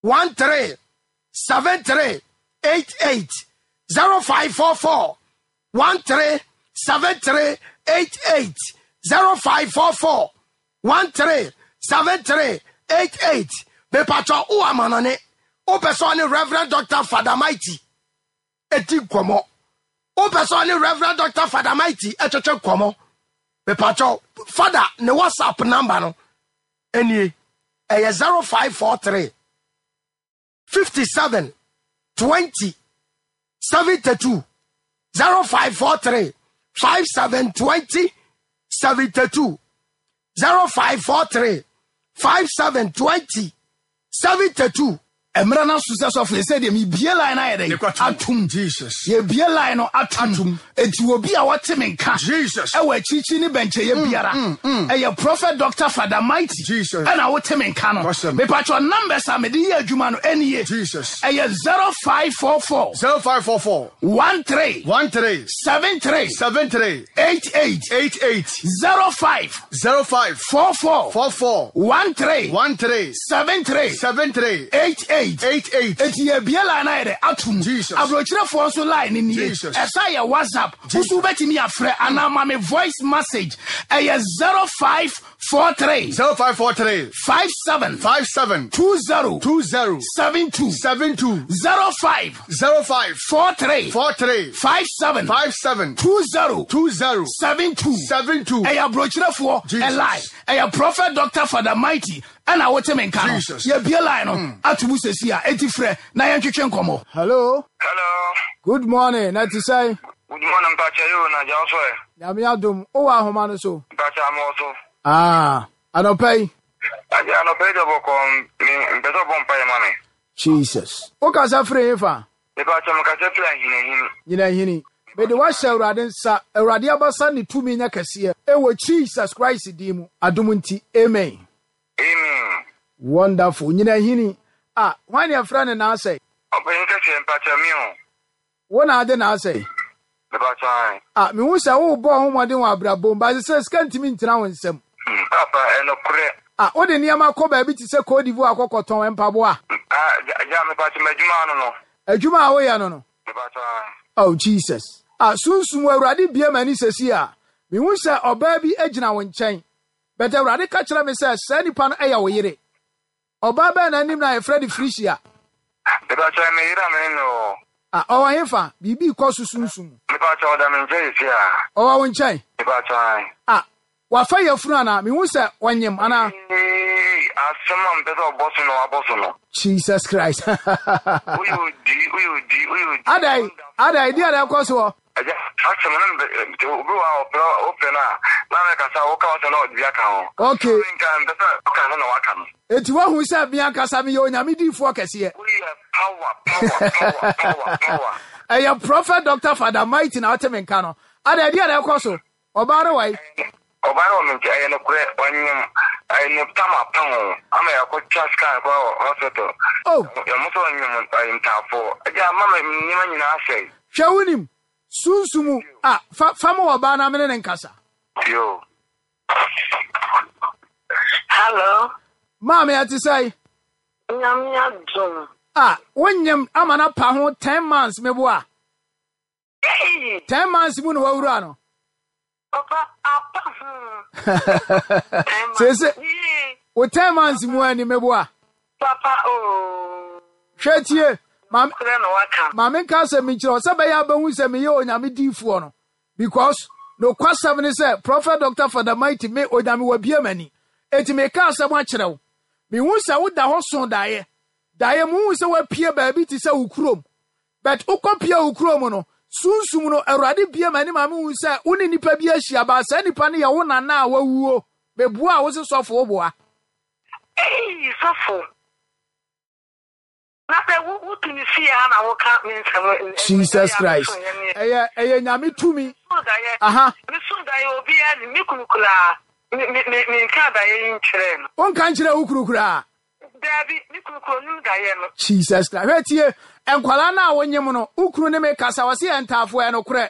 13 73 88 0544 13 73 88 0544 13 73 88 Mepatwɔ wo amanɔne wopɛ sɛ ɔne Reverend Doctor Fada Mighty ɛdi nkɔmmɔ wopɛ sɛ ɔne Reverend Doctor Fada Mighty ɛtwetwe nkɔmmɔ mepatwɔ Fada ne WhatsApp number no nie, ɛyɛ 0543 57 20 72 0543 57 20 72 0543 57 20 72. Mmerɛ no aso sɛ sɔfo sɛ deɛ mebie line no ayɛ dɛn atom. Jesus. Yɛbie line no atom. Enti obi a ɔte me nka Jesus. ɛwɔ akyirikyiri ne bɛnkyɛeɛ biara, ɛyɛ Prophet Doctor Father Mighty Jesus. ɛna wote me nka no. Awesome. Mepatwɔ numbers a mede yɛ adwuma no ɛnie. Jesus. Ɛyɛ 0544 0544 13 13 73 73 88 88 05 05 44 44 13 13 73 73 88. 88. Eti yɛbie line ayɛ dɛ atum. Jesus. Aburokyerɛfoɔ nso line no nie. Jesus. Ɛsa yɛ WhatsApp. Woso wobɛtumi afrɛ anaa ma me voice message. Ɛyɛ 0543 0543 57 57 20 20 72 72 05 05 43 43 57 57 20 20 72. 72. Ɛyɛ aburokyerɛfoɔ Jesus. ɛline. Ɛyɛ Prophet Doctor Father Mighty ɛna wote me nka no. Jesus. Yɛbie line no ato mu sɛsi a, enti frɛ na yɛntwetwe nkɔmmɔ. Hello. Hello. Good morning. Na te sɛn? Good morning, mpakyɛ yo na gya wo so ɛ. Nyame adom. Wowɔ ahoma no so? Mpakyɛ ama wo so. Ah, anɔpa yi. Agya anɔpa yi deɛ bɔkɔɔ me mpɛ sɛ ɔbɔ mpaeɛ ma me. Jesus. Wokasa firi hefa? Mepakyɛ mekasa firi Ahinahini. Nyinahini. Mede wo ahyɛ Awurade nsa. Awurade abasa ne tumi nyɛ kɛseɛ. Ɛwɔ Jesus Christ din mu. Adom nti, amen. Amen. Wonderful. Nyinahini. Ah, hwan ne yɛfrɛ no Naasɛe? Ɔpanyin kɛseɛ mpakyɛ me o. Wo na ade Naasɛe? Mepakyɛ ae. Ah, mehu sɛ worebɔ wo ho mmɔden wɔ abrabɔ mu, but sɛ sika ntumi ntena wo nsam. Papa, ɛnokorɛ. Ah, wode nneɛma kɔ baabi te sɛ Cote d'Ivoire kɔkɔtɔn mpaboa? Ah, gya, mepakyɛ m'adwuma ano no. Adwuma a woyɛ no no? Mepakyɛ ae. Oh, Jesus. Ah, Sunsum, Awurade bue m'ani sɛsi a, mehu sɛ ɔbaa bi gyina wo nkyɛn. But Awurade ka kyerɛ me sɛ saa nipa no yɛ wo yere. Ɔbaa bɛn na anim no a yɛfrɛ no Frisia? Mepakyɛ me yere a me ne no wɔ. Ah, ɔwɔ hefa? Biribi rekɔ so sunsum mu. Mepakyɛ ɔda me nkyɛn seesei a. Ɔwɔ wo nkyɛn? Mepakyɛ ae. Ah, wafa yafunu anaa? Mehu sɛ ɔnyem anaa? Eeii, asɛm a mepɛ sɛ ɔbɔ so na wabɔ so no. Jesus Christ. Woyɛ odi, woyɛ odi, woyɛ odi. Adɛn, adɛn, deɛ na ɛkɔ soɔ? Agya, asɛm no mpɛ nti obi wɔ hɔ a ɔpɛ wopɛ no a na mekasa woka w'asɛm na ɔde bi aka ho. Okay. Nka mpɛ sɛ ɔka no na waka no. Enti woahu sɛ me ankasa meyɛ Onyame diifoɔ kɛseɛ. Woyɛ power power power power power. Ɛyɛ Prophet Doctor Father Mighty na ɔte me nka no. Ada ɛdeɛ na ɛkɔ so? Ɔbaa no wɔ he? Ɔbaa no wɔ me nkyɛn, ɛyɛ nokorɛ, ɔnyem, ɛyɛ ne tam apa ho ama yɛakɔ twa scan koraa wɔ hospital. Oh. Wɔn nso ɔnyem ɛyɛ ntaafoɔ. Agya ama me nneɛma nyinaa asɛe. Hwɛ wonim, sunsum mu, ah, fa, fa ma ɔbaa na mene ne nkasa. Yo. Hello. Maame ɛte sɛn? Nyame adom. Ah, wonyem ama no apa ho 10 months meboa. Hey! 10 months mu na wawura no. Papa apa ho. Sese wo 10 months mu ani meboa. Papa oh. Hwɛ tie. Maame nka asɛm bi nkyerɛ wo sɛ bɛyɛ abɛhu sɛ meyɛ Onyame diifoɔ no because nokwasɛm ne sɛ Prophet Doctor Father Mighty me Onyame wabue m'ani enti meka asɛm akyerɛ wo. Mehu sɛ woda hɔ so daeɛ. Daeɛ mu wohu sɛ woapue baabi te sɛ wo kurom But wokɔ pia wo kurom no, sunsum no, Awurade bue m'ani ma mehu sɛ wo ne nipa bi ahyia, but saa nipa no yɛ wo nana a wawuo. Meboa a wose sɔfo woboa. Eii sɔfo na sɛ wo wo tumi fie ha na wo ka me nsɛm. Jesus Christ ɛyɛ ɛyɛ Nyame tumi. Aha. Me so daeɛ obiara nim me kunu koraa me me me me nka daeɛ yi nkyerɛɛ no. Wo nka nkyerɛ wo kunu koraa. Daabi, me kunu kura onim daeɛ no. Jesus Christ. Hwɛ tie, nkwadaa no a wonyem no, wo kunu ne me kasa, ɔse yɛ ntaafoɔ, ɛyɛ nokorɛ.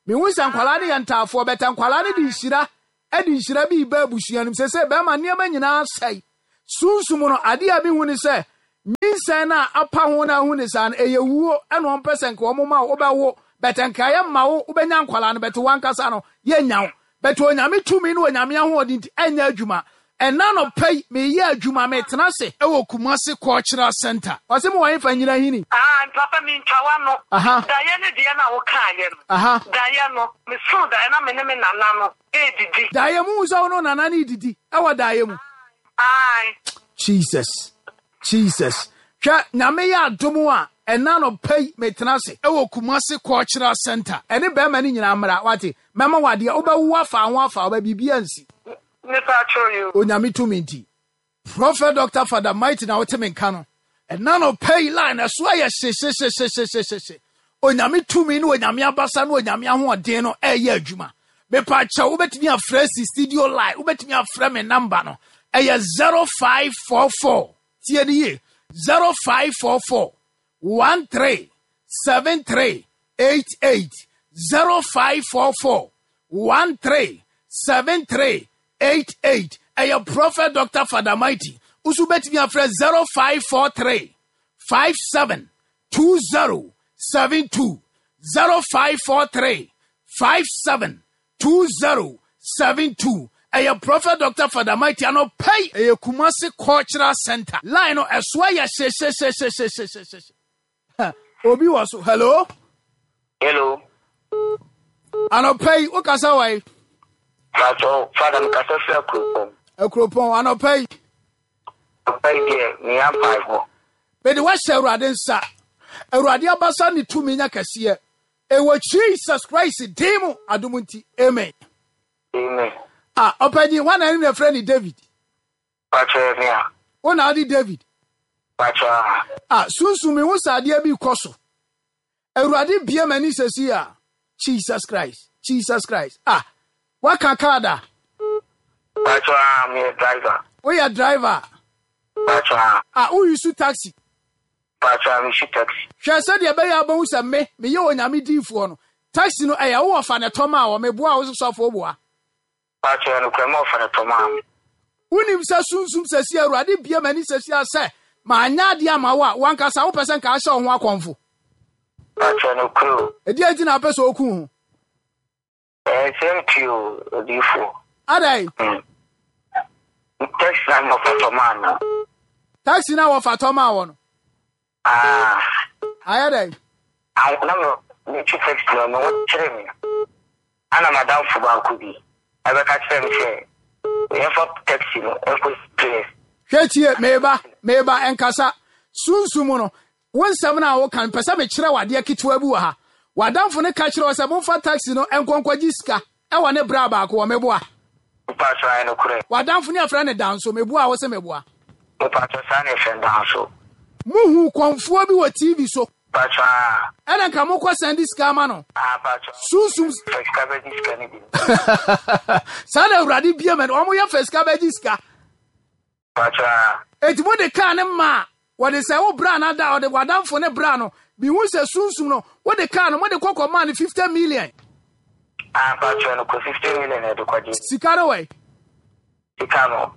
Mehu sɛ nkwadaa no yɛ ntaafoɔ, but nkwadaa no de nhyira, de nhyira bi reba abusua no mu. Seesei bɛrima nneɛma nyinaa asɛe. Sunsum no, adeɛ a mehu ne sɛ, Nyinsɛn no a apa ho no a ahu no saa no, ɛyɛ wuo ɛna wɔn pɛ sɛ nka wɔn ma wo, wobɛwo, but nka yɛmma wo, wobɛnya nkwadaa no, but w'ankasa no, yɛnnya wo. But Onyame tumi ne Onyame ahoɔden nti, ɛnyɛ adwuma. Ɛnnɛ anɔpa yi, meyɛ adwuma, metena ase wɔ Kumasi Cultural Centre. Ɔse mewɔ hefa nyina hini? Ah papa mentwa w'ano. Aha. Daeɛ no deɛ na wokaeɛ no. Aha. Daeɛ no, mesoo daeɛ na me ne me nana no redidi. Daeɛ mu, wohu sɛ wo ne wo nana no redidi wɔ daeɛ mu? Ae. Jesus. Jesus. Hwɛ, Nyame yɛ adom a, ɛnnɛ anɔpa yi, metena ase wɔ Kumasi Cultural Centre. Ɛne bɛrima no nyinaa mmra, wate? Mɛma wo adeɛ, wobɛwo afa ho afa wo ba, biribiara nsi. Mepakyɛw yoo. Onyame tumi nti. Prophet Doctor Father Mighty na wote me nka no. Ɛna anɔpa yi line ɛso ayɛ hyehyehyehyehyehye. Onyame tumi ne Onyame abasa ne Onyame ahoɔden no ɛyɛ adwuma. Mepakyɛw wobɛtumi afrɛ si studio line, wobɛtumi afrɛ me number no. Ɛyɛ 0544. Tie ne yie. 0544 13 73 88 0544 13 73 88 Ɛyɛ Prophet Doctor Father Mighty. Wo nso wobɛtumi afrɛ 0543 57 20 72 0543 57 20 72 Ɛyɛ Prophet Doctor Father Mighty anɔpa yi. Ɛyɛ Kumasi Cultural Center. Line no ɛso ayɛ hyehyehyehyehyehye. Obi wɔ so. Hello. Hello. Anɔpa yi, wokasa wɔ yi? Pastor, Father, mekasa firi Akuropɔn. Akuropɔn, anɔpa yi. Anɔpa yi deɛ, meyɛ mpaebɔ. Mede wahyɛ Awurade nsa. Awurade abasa ne tumi nya kɛseɛ. Ɛwɔ Jesus Christ din mu adom nti, amen. Amen. Ah, ɔpanyin, hwan na ɛne na ɛfrɛ ne David? Pakyɛ me a. Wo na ade David. Pakyɛ a. Ah, sunsum me ho sɛ adeɛ bi kɔ so. Awurade bie m'ani sɛsi a. Jesus Christ, Jesus Christ. Ah, waka kaa da. Pakyɛ a, meyɛ driver. Woyɛ driver. Pakyɛ a. Ah, woyi su taxi. Pakyɛ a, mesu taxi. Hwɛ sɛdeɛ ɛbɛyɛ abɛhu sɛ me, meyɛ Onyame diifoɔ no. Taxi no, ɛyɛ wo wɔfa na ɛtɔ maa wɔ, meboa wo sɔfoɔ boa. Paatwɔ ɛyɛ nokorɛ ma ɔfa no tɔ maa me. Wonim sɛ sunsum sɛsi Awurade bue m'ani sɛsi a sɛ manyɛ adeɛ ama wo a wankasa wopɛ sɛ nka ahyɛ wo ho akɔmfo. Paatwɔ nokorɛ o. Ɛdeɛn nti na wopɛ sɛ oku wo ho? Ɛyɛ nsɛm pii o odiyifoɔ. Adɛn? Taxi na wɔfa tɔ maa me. Taxi na wɔfa tɔ maa wɔ no. Ah. Ayɛ dɛn? Na me metwi taxi no me ho kyere me. Ana madamfo baako bi ɛbɛka kyerɛ me sɛ yɛmfa taxi no nkɔ prayers. Hwɛ tie, meba, meba, ɛnkasa. Sunsum mu no, wo nsɛm no a woka no, mepɛ sɛ mekyerɛ wo adeɛ ketewa bi wɔ ha. W'adamfo no ka kyerɛ wo sɛ momfa taxi no nkɔ nkɔgye sika wɔ ne bra baako hɔ, meboa? Mepakyɛw, ɛyɛ nokorɛ. W'adamfo no yɛfrɛ no Danso, meboa a wose meboa? Mepakyɛw, saa na yɛfrɛ no, Danso. Mohuu kɔmfoɔ bi wɔ TV so. Pacho aa. Ɛna nka mo kɔ sɛnde sika ama no. Ah pacho. Sunsum. Fɛ sika bɛgye sika no bi. Saa na awurade bie mɛ no wɔn yɛ fɛ sika bɛgye sika. Pacho aa. Eti mo de kaa ne maa wɔde sɛ wo bra na da ɔde wadamfo ne bra no bihu sɛ sunsum no wo de kaa no mo de kɔkɔ maa no 50 million. Ah pacho no kɔ 50 million ɛde kɔgye. Sika no wɛ. Sika no,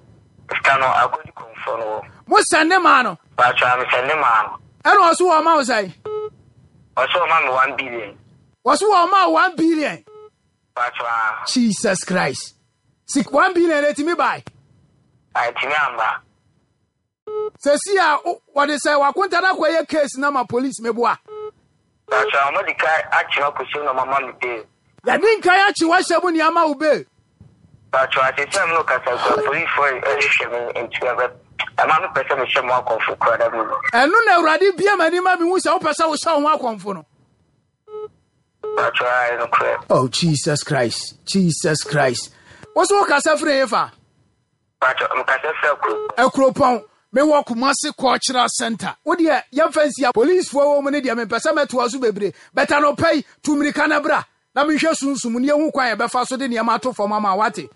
sika no akɔdi kɔmfoɔ no hɔ. Mo sɛnde maa no? Paatwa, me sɛnde maa no. Ɛna ɔso wɔma wo sɛn? Ɔso ɔma me 1 billion. Ɔso wɔma wo 1 billion? Paatwa. Jesus Christ. Sik 1 billion etimi bae? Etimi amba. Sɛsi a wɔde sɛ wakonta no akɔyɛ case na ma police meboa. Paatwa, wɔn de ka akye akɔhyɛ na ɔmama me bail. Yɛde nkan akye wahyɛ mu nea ama wo bail. Paatwa, ate sɛ me no kasa kura policefoɔ ɛhwehwɛ me nti ɛbɛ ɛma me pɛ sɛ mehyɛ mo akɔmfo kura da mu. Ɛno na Awurade bie m'ani ma mehu sɛ wopɛ sɛ wohyɛ wo ho akɔmfo no. Paatwa, ɛyɛ nokorɛ. Oh Jesus Christ, Jesus Christ. Wo so wokasa firi hefa? Paatwa, mekasa firi Akuropɔn. Akuropɔn. Mewɔ Kumasi Cultural Center. Wo deɛ yɛmfa nsia. Policefoɔ wɔ mu no deɛ mempɛ sɛ mɛtoa so bebree. But anɔpa yi, tu mmirika na bra na menhwɛ sunsum na yɛhu kwan a yɛbɛfa so de nneɛma ato fam ama wo, woate?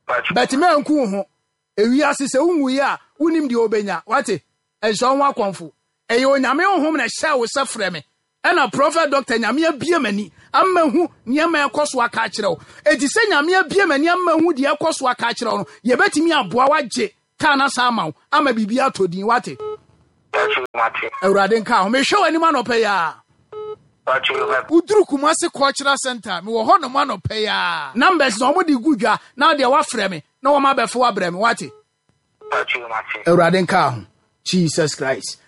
But manku wo ho. Ewiase sɛ wonwui a, wonnim deɛ wobɛnya, woate? Nhyɛ wo ho akɔmfo. Ɛyɛ Onyame honhom na ɛhyɛɛ wo sɛ frɛ me. Ɛna Prophet Doctor Nyame abue m'ani ama hu nneɛma ɛkɔ so aka akyerɛ wo. Enti sɛ Nyame abue m'ani ama hu deɛ ɛkɔ so aka akyerɛ wo no, yɛbɛtumi aboa wo agye kaa no asan ama wo ama biribi atɔ din, woate? Awurade nka ho. Mehwɛ w'anim anɔpa yi ara. Woduru Kumasi Cultural Center, mewɔ hɔ nom anɔpa yi ara. Numbers na wɔde gu dwa na deɛ wafrɛ me na wɔn abɛfo abrɛ me, wate? Awurade nka ho. Jesus Christ.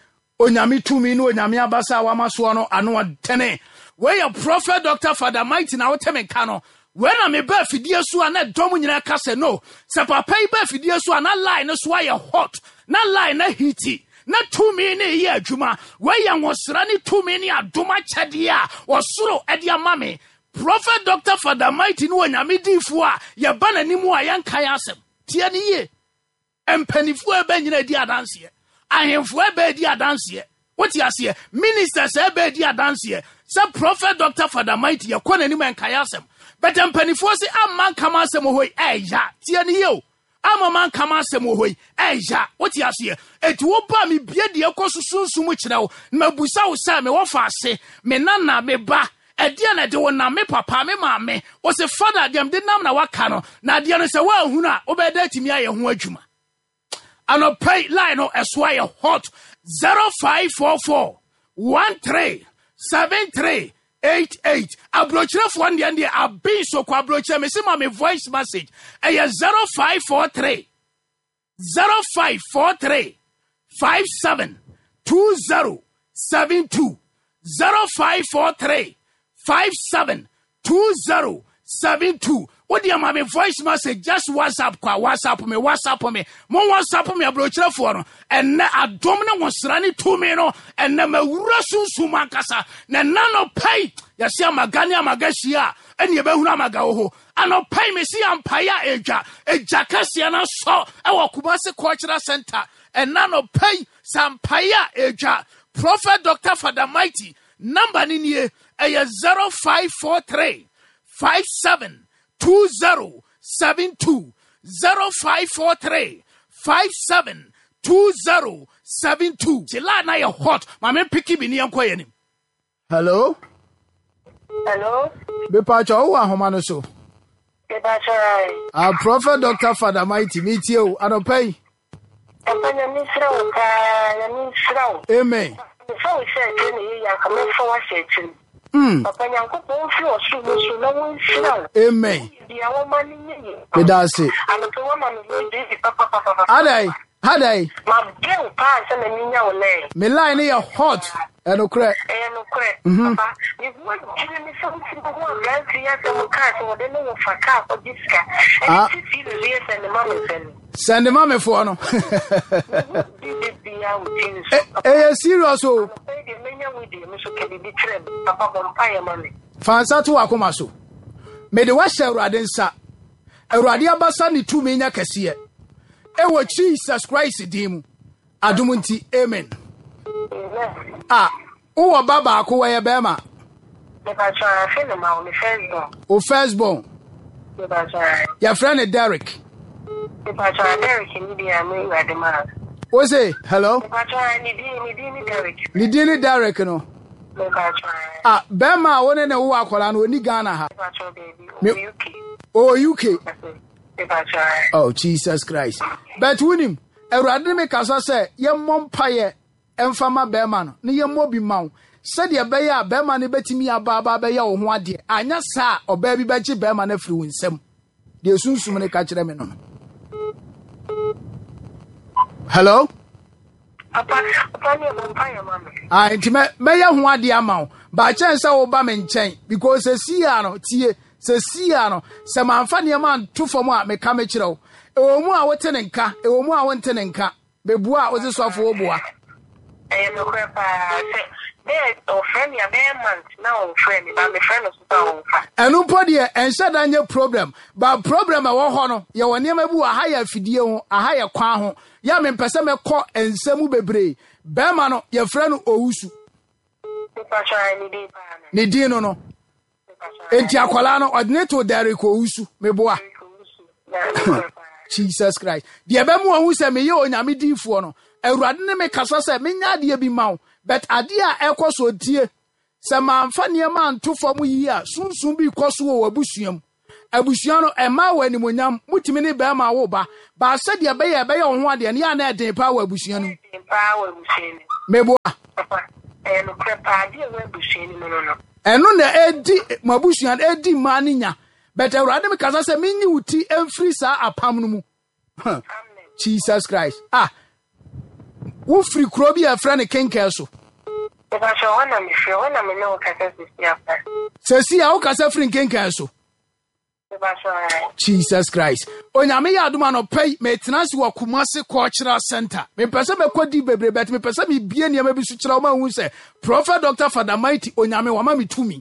Onyame tumi ne Onyame abasa a wama soɔ no ano ɔdene. Wei yɛ Prophet Doctor Father Mighty na wote me nka no. Wei na meba afidie so a na dɔm nyinaa ka sɛ no. Sɛ papa yi ba afidie so a na line no so ayɛ hot. Na line no ahiti. Na tumi no reyɛ adwuma. Wei yɛ nwosra ne tumi ne adom akyɛdeɛ a ɔsoro de ama me. Prophet Doctor Father Mighty ne Onyame diifoɔ a yɛba n'anim a yɛnkan asɛm. Tie no yie. Mpanimfoɔ ɛbɛ nyina di adanseɛ. Ahemfo ɛbɛ di adanseɛ. Wote aseɛ? Ministers ɛbɛ di adanseɛ. Sɛ Prophet Doctor Father Mighty yɛkɔ n'anim ɛnkae asɛm. But mpanimfoɔ se amma nka m'asɛm wɔ hɔ yi ɛya. Tie no yie o. Amma manka m'asɛm wɔ hɔ yi ɛya. Wote aseɛ? Eti wo ba mebie deɛ ɛkɔ so sunsum kyerɛ wo na mabusa wo sɛ me wɔfa ase, me nana, me ba, Ɛdeɛn na ɛde wo nam, me papa, me maame? Ose, Father, deɛ mede nam na waka no, na adeɛ no sɛ woanhunu a, wobɛyɛ dɛ atumi ayɛ ho adwuma. Anɔpa yi, line no ɛso ayɛ hot. 0544 13 73 88. Aburokyerefoɔ ndeɛ ndeɛ aben so kɔ aburokyerɛ me se ma me voice message. Ɛyɛ 0543 0543 57 20 72 0543 57 20 72 wo deɛ ma me voice message just whatsapp kwa whatsapp me whatsapp me mo whatsapp me aburokyerɛfoɔ no ɛnɛ adom ne nwosra ne tumi no ɛnɛ mawura sunsum ankasa na ɛna no pɛi yɛse amaga ne amaga hyia a ɛne yɛbɛhunu amaga wɔ hɔ Anɔpa yi mesi ampaeɛ a ɛdwa egya kɛseɛ no asɔ wɔ Kumasi Cultural Center. Ɛna anɔpa yi sɛ ampaeɛ a ɛdwa. Prophet Dr. Father Mighty number no nie, ɛyɛ 0543 57 2072 0543 57 2072. July na yɛ hot, ma me mpeke bi ne yɛnkɔ yɛn anim. Hello. Hello. Mepakyɛ wowɔ ahoma no so. Mepakyɛ ayi. Ah, Prophet Doctor Father Mighty, metie o, anɔpa yi. Papa nyame nhyira wo paa, nyame nhyira wo. Amen. Mefa wo hyɛ akyire na yɛyɛ anka mɛfa wo ahyɛ akyire. Papa Nyankopɔn mfiri ɔsoro mu soro na wɔnhyira wo. Amen. Bia wɔma no nyɛ yie. Meda ase. Anɔpa wama me ho adwiri papapapapa. Adai. Adɛn? Mabrɛ wo paa ansa na menya wo line. Me line no yɛ hot. Ɛnokorɛ. Ɛyɛ nokorɛ papa. Me ho adwiri me sɛ wotumi ho aberante yi asɛm kaa sɛ wɔde ne wo fa kaa kɔgye sika. Ɛne titi no so yɛ sɛnde ma me sɛnde. Sɛnde ma me foɔ no. Me ho didi bia wo tiri so. Ɛyɛ serious o. Anɔpa yi deɛ menya wo deɛ me so ka biribi kyerɛ me. Papa bɔ mpaeɛ ma me. Fa nsa to w'akoma so. Mede wo ahyɛ Awurade nsa. Awurade abasa ne tumi nyɛ kɛseɛ ɛwɔ Jesus Christ din mu adom nti amen. Ah, wowɔ ba baako wɔyɛ bɛrima. O first born. Yɛfrɛ no Derek. Wo se hello? Ne din ne Derek no. Ah, bɛrima a wo ne ne wo akwadaa no ɔni Ghana ha. Ɔwɔ UK. Oh Jesus Christ. But wonim, Awurade ne me kasa sɛ yɛmmɔ mpaeɛ mfa ma bɛrima no na yɛmmɔ bi ma wo sɛdeɛ ɛbɛyɛ a bɛrima no bɛtumi aba aba abɛyɛ wo ho adeɛ. Anyɛ saa a ɔbaa bi bɛgye bɛrima no afiri wo nsam. Deɛ sunsum no ka kyerɛ me no no. Hello? Papa, papa ne ɛbɔ mpa yɛ ma me. Ah, nti mɛ mɛyɛ ho adeɛ ama wo. Baakyɛn sɛ woba me nkyɛn because sɛ si a no tie sɛ si a no sɛ manfa nneɛma nto fam a meka mekyerɛ wo. Ɛwɔ mu a wote ne nka, ɛwɔ mu a wonte ne nka. Bebua a wose sɔfo woboa. Ɛyɛ nokorɛ paa sɛ bɛyɛ ɔfrɛ me a bɛyɛ month na ɔnfrɛ me but mefrɛ no so so a ɔnfa. Ɛno mpo deɛ ɛnhyɛ da nyɛ problem but problem ɛwɔ hɔ no yɛwɔ nneɛma bi wɔ aha yɛ afidie ho aha yɛ kwan ho yɛ a mempɛ sɛ mɛkɔ nsɛm mu bebree bɛrima no yɛfrɛ no Owusu. Ne din no no enti akwadaa no ɔde ne to Derrick Owusu meboa Jesus Christ deɛ ɛbɛmu ɔhu sɛ meyɛ onyame diifoɔ no awurade ne me kasa sɛ menya adeɛ bi ma wo but adeɛ a ɛkɔ so tie sɛ mamfa nneɛma anto fam yie a sunsum bi kɔ so wɔ w'abusua mu abusua no ɛma wɔ animonyam mutumi ne bɛrima wo ba baa sɛdeɛ ɛbɛyɛ ɛbɛyɛ wo ho adeɛ no yɛ a na ɛden paa wɔ abusua no mu. Meboa. Papa, ɛyɛ nokorɛ paa, adeɛ a ɛwɔ abusua no mu no no. Ɛno na ɛdi mo abusua no, ɛdi mmaa no nya. But Awurade me kasa sɛ menyi wo ti mfiri saa apam no mu. Amen. Jesus Christ. Ah, wofiri kuro bi a ɛfrɛ no Kenkɛn so. Mepakyɛ hɔ na mefiri, hɔ na me ne wo kasa sisi apa. Sɛsi a wokasa firi Nkenkan so. Jesus Christ. Onyame yɛ adom anɔpa yi metena ase wɔ Kumasi Cultural Center. Mepɛ sɛ mɛkɔ di bebree but mepɛ sɛ mebie nneɛma bi so kyerɛ wɔn ahu sɛ Prophet Dr. Father Mighty Onyame wama me tumi.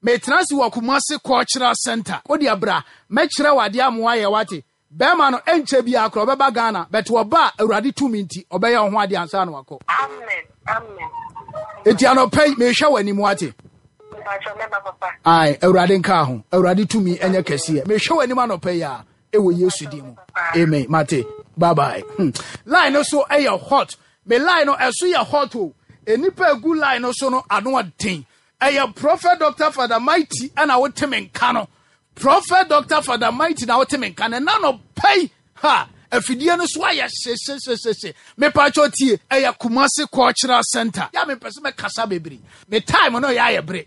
Metena ase wɔ Kumasi Cultural Center. Wode abra mɛkyerɛ wo adeɛ ama woayɛ wate. Bɛrima no ɛnkyɛ biara koraa ɔbɛba Ghana but ɔba a Awurade tumi nti ɔbɛyɛ wo ho adeɛ ansa na wakɔ. Amen amen. Eti anɔpa yi mehwɛ w'anim wate. Mpakyɛ mɛba papa. Ae Awurade nkaa ho Awurade tumi ɛnyɛ kɛseɛ mehwɛ w'anim anɔpa yi a ɛwɔ Yesu din mu amen mate bye bye. Hmm. Line no so ɛyɛ hot me line no ɛso yɛ hot o nnipa egu line no so no ano ɔden ɛyɛ Prophet Dr. Father Mighty ɛna wote me nka no Prophet Doctor Father Mighty na wote me nka no ɛna nɔpa yi ha afidie no so ayɛ hyehyehyehyehye mepatwɔ tie ɛyɛ Kumasi Cultural Center yɛ a mepɛ sɛ mɛkasa bebree me time no yɛ ayɛ bere.